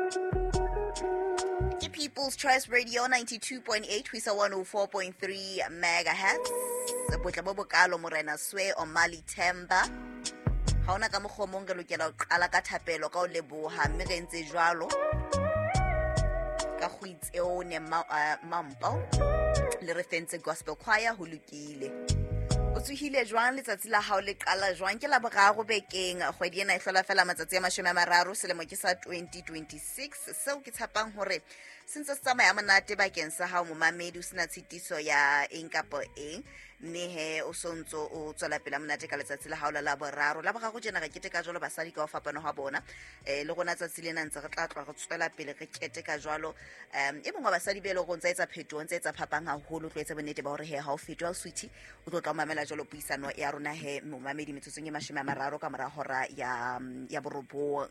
Ke People's Choice Radio 92.8 ho isa 104.3 megahertz. Botle bo bokalo Morena Swe Omali Themba. Ha hona ka mokgwa o mong re lokela ho qala ka thapelo ka ho leboha, mme re entse jwalo ka go itseone Mampo le re fentse gospel choir. Ho lokile, o tsohile jwang? Letsatsi la hao le qala jwang? Ke la boraro bekeng, kgwedi ena e hlola fela matsatsi a 30, selemo ke sa 2026. Seo ke tshepang hore se ntse se tsamaya monate bakeng sa hao, momamedi, o sena tshitiso ya eng kapa eng, mme he o sontso o tswela pele monate ka letsatsi la hao la laboraro. La boraro tjena re keteka jwalo basadi ka ho fapana ha bona. Le rona tsatsi lena ntse re tla tloha re tswela pele re keteka jwalo. E mongwe wa basadi be e leng hore o ntsa etsa phetoho, ntse etsa phapang haholo, tlo etsa bonnete ba hore he ha o fetwe ha o sweetie, o tlo tla o mamela jwalo puisano ya rona he, momamedi, metsotsong e 30 ka mora hora ya 9.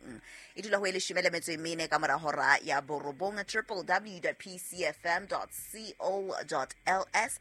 E dula ho e 14 ka mora hora ya 9. www.pcfm.co.ls.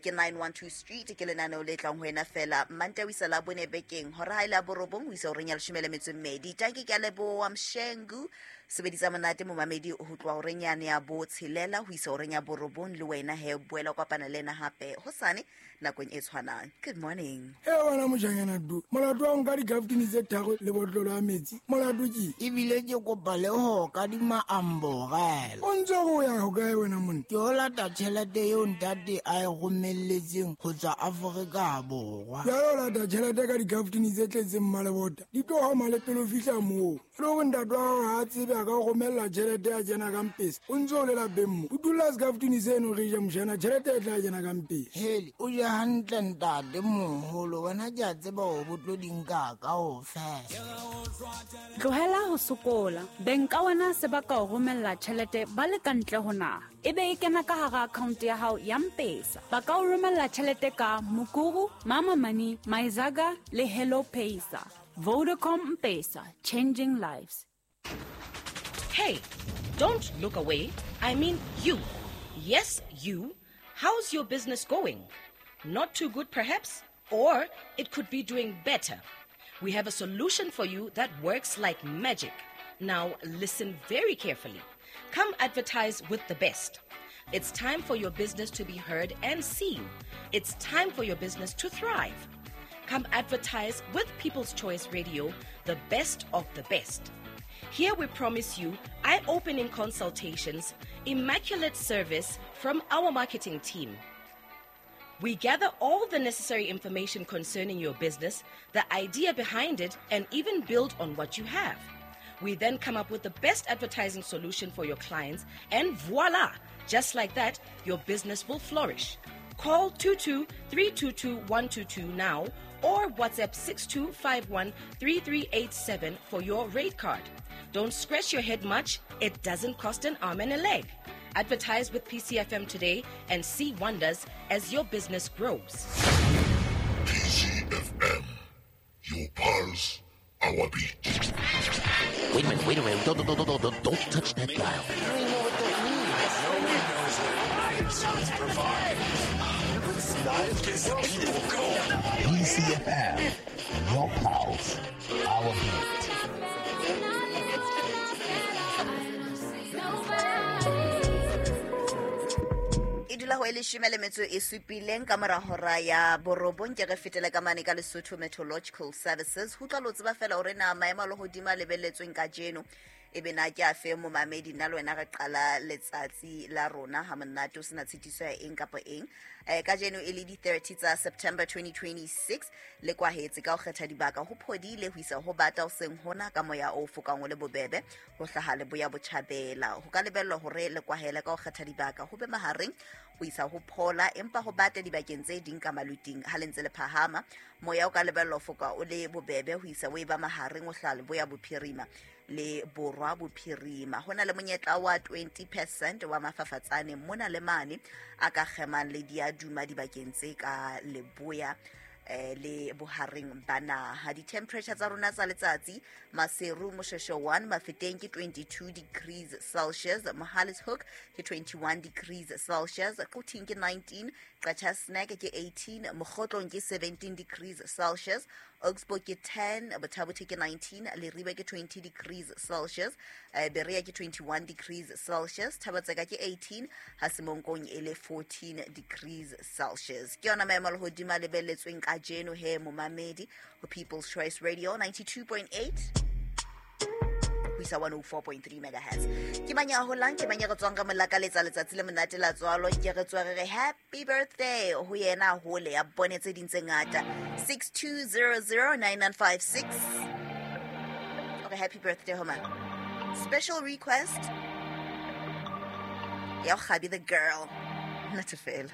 Ke 912 Street, ke lenaneo le tlang ho wena fela Mantaha ho isa la bone bekeng, hora ha e le ya 9 ho isa horeng ya 12. Tanki, ke a leboha. Mshengu sebedisa monate, momamedi, ho tloha horeng yane ya 6 ho isa horeng ya 9. Le wena he, boela o kopana le ena hape hosane nakong e tshwanang. Good morning. E wena mojanyana du, molato wa nka dikaftini tse tharo le botlolo ya metsi, molato ke Ebile ke kopa le ho kadima amborela. O ntse o ya hokae wena monna? Ke o lata tjhelete eo ntate a e romelletseng ho tswa Afrika Borwa. Jalo o lata tjhelete ka dikaftini tse tletseng malebota, di tlo homa le pele o fihla moo. E le hore ntate wa hao ha a tsebe a ka o romella tjhelete ya kena ka mpesa, o ntse o le lapeng mo. Utulla sekaftini seno re je, mojana, tjhelete e tla kena ka mpesa. Hele, o je hantle ntate moholo, wena ke a tseba hore bo tlo di nka kaofela. Tlohela ho sokola. Beng ka wena se ba ka o romella tjhelete ba le ka ntle ho naha, ebe e kena ka hara account ya hao ya Mpesa. Ba ka o romella tjhelete ka Mukuru, Mama Money, Myzaga le Hello Paysa. Vodacom Mpesa, changing lives. Hey, don't look away. I mean you. Yes, you. How's your business going? Not too good, perhaps? Or it could be doing better. We have a solution for you that works like magic. Now, listen very carefully. Come advertise with the best. It's time for your business to be heard and seen. It's time for your business to thrive. Come advertise with People's Choice Radio, the best of the best. Here we promise you eye opening consultations, immaculate service from our marketing team. We gather all the necessary information concerning your business, the idea behind it, and even build on what you have. We then come up with the best advertising solution for your clients, and voila! Just like that, your business will flourish. Call 22 322 122 now or WhatsApp 6251 3387 for your rate card. Don't scratch your head much, it doesn't cost an arm and a leg. Advertise with PCFM today and see wonders as your business grows. PCFM. Your pulse, our beat. Wait a minute, wait a minute. Don't, don't, don't, don't, don't touch that dial. PCFM. Your pulse, our beat. E dula ho e 17 ka mora hora ya 9. Ke re fetele ka mane ka Lesotho Meteorological Services ho tla lo tseba fela hore na maemo a lehodimo a lebelletsweng kajeno e be na ke a fe. Momamedi, nna le wena re qala letsatsi la rona ha monate, o sena tshitiso ya eng kapa eng. Kajeno e le di-30 tsa September 2026, le kwahetse ka ho kgetha dibaka, ho phodile ho isa ho bata hoseng hona ka moya o fokang o le bobebe ho hlaha leboya botjhabela. Ho ka lebellwa hore le kwahele ka ho kgetha dibaka, ho be mahareng ho isa ho phola, empa ho bata dibakeng tse ding ka maluting. Ha le ntse le phahama, moya o ka lebellwa ho foka o le bobebe ho isa o e ba mahareng o hlaha leboya bophirima le borwa bophirima. Ho na le monyetla wa 20% wa mafafatsane mona le mane a ka kgemang le diaduma dibakeng tse ka leboya le bohareng ba naha. Di-temperature tsa rona tsa letsatsi: Maseru, Moshweshwe 1, Mafeteng ke 22 degrees Celsius, Mohale's Hoek ke 21 degrees Celsius, Quthing ke 19, Qacha's Nek ke 18, Mokhotlong ke 17 degrees Celsius. Augsburg ke 10, Botha-Bothe ke 19, Leribe ke 20 degrees Celsius, Berea ke 21 degrees Celsius, Thaba-Tseka ke 18, ha Semonkong e le 14 degrees Celsius. Ke yona maemo a lehodimo a lebelletsweng kajeno he momamedi ho People's Choice Radio 92.8 ho isa 104.3 megahertz. Ke mang ya holang, ke mang ya re tswang ka molakaletsa letsatsi le monate la tswalo, ke re tswa re re happy birthday ho yena hole ya bone tse ding tse ngata. 62009956. Okay, happy birthday ho mang? Special request ya Gabi the girl. Not to fail.